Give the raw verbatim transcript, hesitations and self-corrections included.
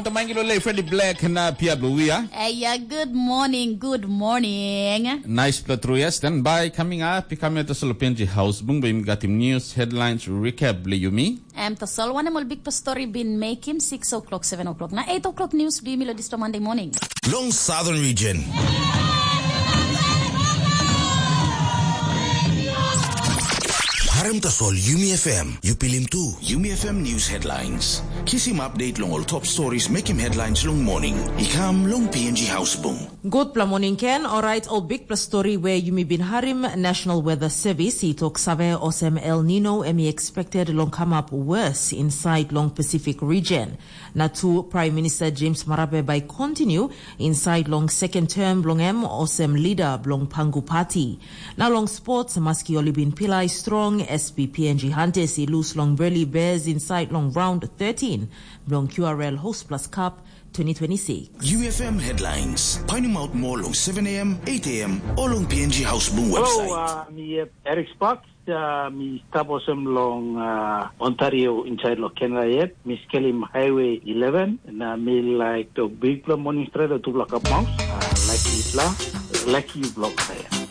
Tamaingilo le Freddy Black na Pia Bluia. Hey, yeah, good morning, good morning. Nice pla tru, yes. Then by coming up, i kami ato solo P N G House Bung, by mi gatim news headlines recap le yumi. Em tasol wanem ol big story bin make him six o'clock, seven o'clock. Na eight o'clock news bi mi lo disto Monday morning. Long Southern Region. Harim tasol Yumi F M, yu pilim tu. Yumi F M News Headlines. Kisim update long ol top stories making headlines long morning. I kam long P N G House Bung. Gutpela morning, Ken. Alright, ol bikpela story where yumi bin harim, National Weather Service i tok save osem El Nino em i expected long come up worse inside long Pacific region. Na tu Prime Minister James Marape by continue inside long second term blong em osem leader blong Pangu Party. Na long sports, maski oli bin pilai strong, S P P N G Hunters i lose long Burley Bears inside long round thirteen blong Q R L Host Plus Cup twenty twenty-six. U F M Headlines. Painim out more long seven a m, eight a m, or long P N G House Boom website. Hello, uh, mi uh, Eric Sparks. Uh, mi stap osem long uh, Ontario inside lo Canada yet. Mi skelim Highway eleven. Na mi like the big morning straight to block up mouse. Uh, like it la, like you block there.